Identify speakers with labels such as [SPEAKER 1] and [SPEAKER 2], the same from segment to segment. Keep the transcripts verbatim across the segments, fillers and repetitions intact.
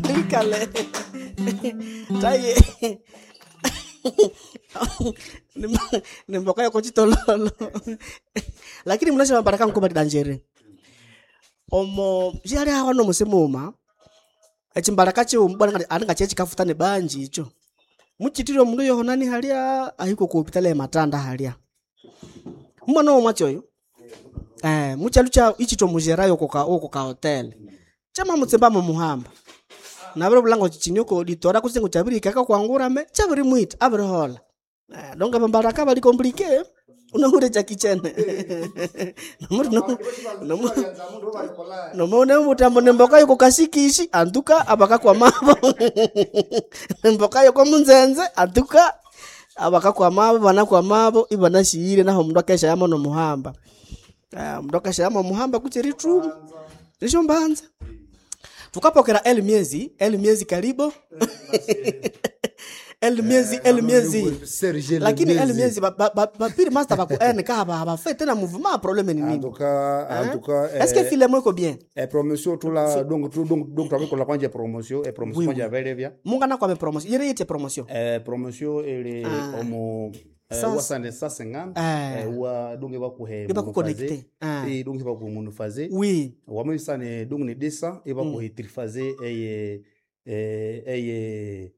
[SPEAKER 1] Twikale. Taye. Nimboka yoko chitololo. Lakini mnasema baraka mko bali dangereux. Omo jali hawa no musimuma. Echimbaraka chiu mbwana alinga chechi kafutane banji icho. Muchitiro mundu yohonani halia ahiko ku hospitali ya Matanda halia. Mwana wo mwachoyo. Eh, muchalucha ichito mujerayo koka oko ka hotel. Chama mutsemba mu muhamba. Nabere bulango chichinyoko ditora kusengo chabiri kaka kwangura me chabiri mwita abiri hola. Eh, donga bambaraka bali compliqué. Unahure cha kichene. Nomuri no nomu nomone mutambo nemboka yuko kasikishi antuka abakakwa mabo. Nemboka yuko munzenze antuka abakakwa mabo banakwa mabo ibanashiyire naho mundu akesha yamo no muhamba. Ah, mundu akesha yamo muhamba kuchiri trumu. Nisho mbanza. Tukapokera el miezi, el miezi karibo. El miezi, el miezi.
[SPEAKER 2] Serge El
[SPEAKER 1] Lakini el
[SPEAKER 2] Miezi.
[SPEAKER 1] miezi ba ba ba piri master ba ku en ka ba ba fait tena mouvement problème ni
[SPEAKER 2] En
[SPEAKER 1] nini?
[SPEAKER 2] tout cas, en tout cas,
[SPEAKER 1] Est-ce que filemo iko bien?
[SPEAKER 2] eh, promotion tout la donc tout donc donc twabikola kwanje promotion eh, promotion
[SPEAKER 1] Oui,
[SPEAKER 2] kwanje
[SPEAKER 1] oui.
[SPEAKER 2] avelevya
[SPEAKER 1] Munga na kwa me promotion. Yere yete promotion.
[SPEAKER 2] eh, promotion ele
[SPEAKER 1] Ah.
[SPEAKER 2] omo eh,
[SPEAKER 1] Sans-
[SPEAKER 2] wasande cent cinquante
[SPEAKER 1] Eh.
[SPEAKER 2] eh, wa donc bakuhe
[SPEAKER 1] Iba kuconnecte. Ah.
[SPEAKER 2] eh donc baku monophasé
[SPEAKER 1] Oui.
[SPEAKER 2] wamwisane donc ni deux cents e bakuhe triphasé eye eh, eye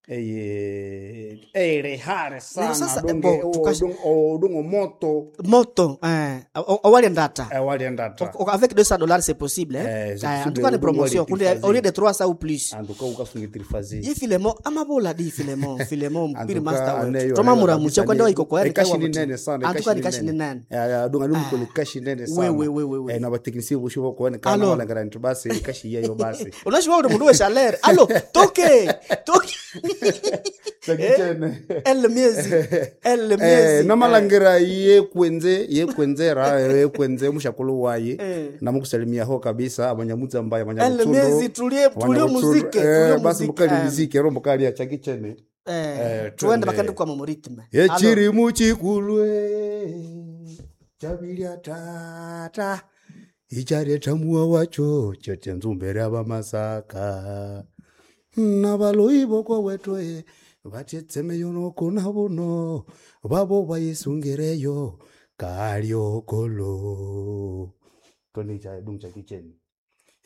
[SPEAKER 2] eye eye sana
[SPEAKER 1] sasa,
[SPEAKER 2] donc
[SPEAKER 1] bo,
[SPEAKER 2] o-
[SPEAKER 1] tukash-
[SPEAKER 2] donc o- donc moto
[SPEAKER 1] Moto eh owali ndata.
[SPEAKER 2] eh, waliendata
[SPEAKER 1] O- Avec deux cents dollars c'est possible hein.
[SPEAKER 2] Eh, c'est
[SPEAKER 1] Eh, en
[SPEAKER 2] possible,
[SPEAKER 1] tout cas ni
[SPEAKER 2] donc
[SPEAKER 1] promotion
[SPEAKER 2] wali
[SPEAKER 1] kunde
[SPEAKER 2] triphasé.
[SPEAKER 1] au lieu de trois cents ou plus.
[SPEAKER 2] en tout cas ukasunga triphasé
[SPEAKER 1] Ye filemo amabola di filemo filemo
[SPEAKER 2] En
[SPEAKER 1] mpiri
[SPEAKER 2] tout
[SPEAKER 1] master
[SPEAKER 2] cas,
[SPEAKER 1] we.
[SPEAKER 2] aneyo-
[SPEAKER 1] Toma
[SPEAKER 2] aneyo
[SPEAKER 1] muramuche
[SPEAKER 2] kabisa
[SPEAKER 1] kwenda
[SPEAKER 2] ni-
[SPEAKER 1] iko kwa
[SPEAKER 2] ekashi ni nene sana
[SPEAKER 1] En tout cas ni kashi ni nene.
[SPEAKER 2] Eh, dunga lumukolo kashi nene sana
[SPEAKER 1] We, we, we, we, we.
[SPEAKER 2] Eh, na batekinisi bosho bokuone kana
[SPEAKER 1] Alo.
[SPEAKER 2] walangara nti basi ekashi yeyo basi
[SPEAKER 1] Unashiwa uri mundu we chaleur. Allo, toke. Toke.
[SPEAKER 2] Sakichene.
[SPEAKER 1] El miezi. El
[SPEAKER 2] Eh,
[SPEAKER 1] miezi.
[SPEAKER 2] namalangira ye kwenze ye kwenzera ye kwenze mushakulu waye
[SPEAKER 1] Eh.
[SPEAKER 2] namukusalimiaho kabisa abanyamutsa mbaya
[SPEAKER 1] El
[SPEAKER 2] abanyabutsundo
[SPEAKER 1] miezi tulie tulie muziki, tulie
[SPEAKER 2] basi
[SPEAKER 1] muziki.
[SPEAKER 2] mukali
[SPEAKER 1] Eh,
[SPEAKER 2] muziki ero mukali achakichene
[SPEAKER 1] Eh,
[SPEAKER 2] Eh,
[SPEAKER 1] tuende
[SPEAKER 2] twende.
[SPEAKER 1] bakandi kwa mu rythme. Allo.
[SPEAKER 2] echiri muchikulwe chavilya tata ichareta muwa wacho chete nzumbere abamasaka nabaloi boko wetwe vatetsemeyo nokuna buno vavo vaisungireyo kalyokolo tonicha dungu cha kicheni.